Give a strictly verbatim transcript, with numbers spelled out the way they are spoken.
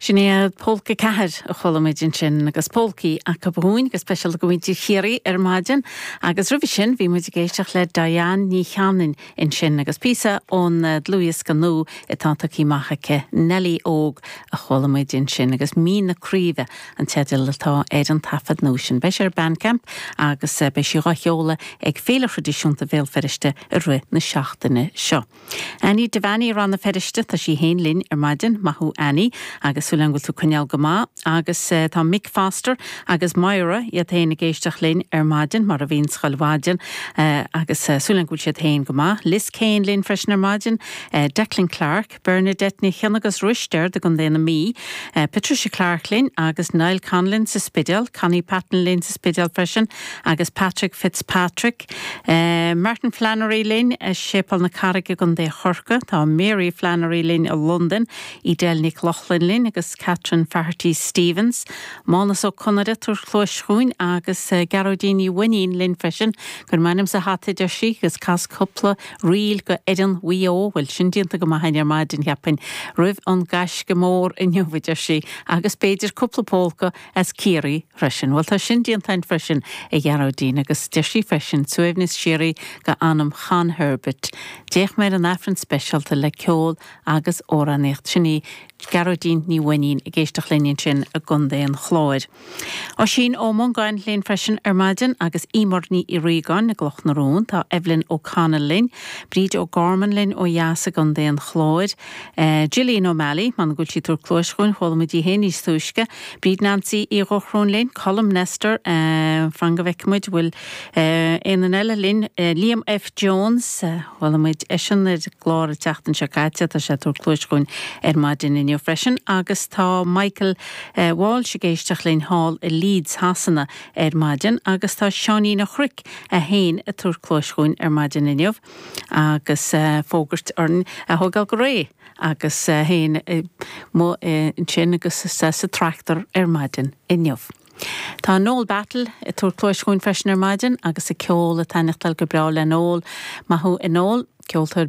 Sin é Polca ceathair a chuala muid ansin agus polcaí acu dhúinn go speisialta go mhuintir Chiarraí ar maidin, agus roimhe sin bhí muid ag éisteacht le Diane Ní Chanainn ansin agus píosa ón dlúthdhiosca nua atá tagtha amach aici Nelly Óg a chuala muid ansin agus Mín na Craoibhe an teideal atá ar an taifead nua sin. Beidh sé ar Bandcamp agus beidh sí á sheoladh ag Féile Thraidisiúnta Bhéal Feirste i rith na seachtaine seo. Annie Devaney Rann na Feirste tá sí féin linn ar maidin maith thú Annie agus súil bhfuil tú coinneáil go maith agus uh, tá Mick Foster agus Myra iad féin ag éisteacht linn ar maidin mar a bhíonn chuile mhaidin uh, agus uh, súil bhfuil siad féin go maith. Liz Kane linn freisin ar maidin, uh, Declan Clark, Bernadette Ní Chion agus Ruister de gContae na Mí, uh, Patricia Clark linn agus Niall Conlin sa Spidéal, Connie Patton linn sa Spidéal freisin agus Patrick Fitzpatrick, uh, Martin Flannery linn uh, Séipéal na Carraige Contae Chorcaí, tá Mary Flannery linn i London, Edel Nic Loughlin linn agus Catherine Faherty Stevens, Mánas Ó Conaire tabhairt cluas dhúinn agus uh, Gearóidín Ní Mhainnín linn freisin, gur m'ainm sa hata deir sí agus cas cúpla ríl go Erin Wí bhfuil sin déanta go maith ar maidin cheapfainn roimh an gaisce mór inniu deir sí agus b'fhéidir cúpla polca as Ciarraí freisin. Well tá sin déanta freisin a Ghearóidín agus deir sí freisin suaimhneas síoraí go anam Chan Herbert. D'fhéach mé an Aifreann speisialta le ceol agus amhránaíocht sin í Gearóidín Ní Mhainnín ag éisteacht linn sin i gContae an Chláir. Oisín Ó Mongáin linn freisin ar maidin agus Ímor Ní Riagáin na Cloch na Rón tá Evelyn O'Connell linn, Bríd O'Gorman linn ó dheas i gContae an Chláir, uh, Gillian O'Malley man ghfuil sí túr clóischuin chola hé níos túisce, Bríd Nancy í Dhochróin linn, Colm Nestor uh, fan go bhfeicfimid bhfuil uh, aon eile linn uh, Liam F. Jones bhfuil muid eisean ar glár an tseachtain seo caite tá sé tabhairt cluas dhúinn ar maidin inniu freisin agus tá Michael uh, Walsh ag éisteacht linn thall i Leeds Shasana ar maidin agus tá Seáinín Ó Chruic a haon a tabhairt cluas dhúinn ar maidin inniu agus uh, fógairt orainn a thógáil go réidh agus féin uh, mo sin agus sa sa tractor ar maidin inniu. Tá Noel Battle ag tabhairt cluas dhúinn freisin ar maidin agus a ceol a taitneachtáil go breá le Noel maith thú a Noel ceoltóir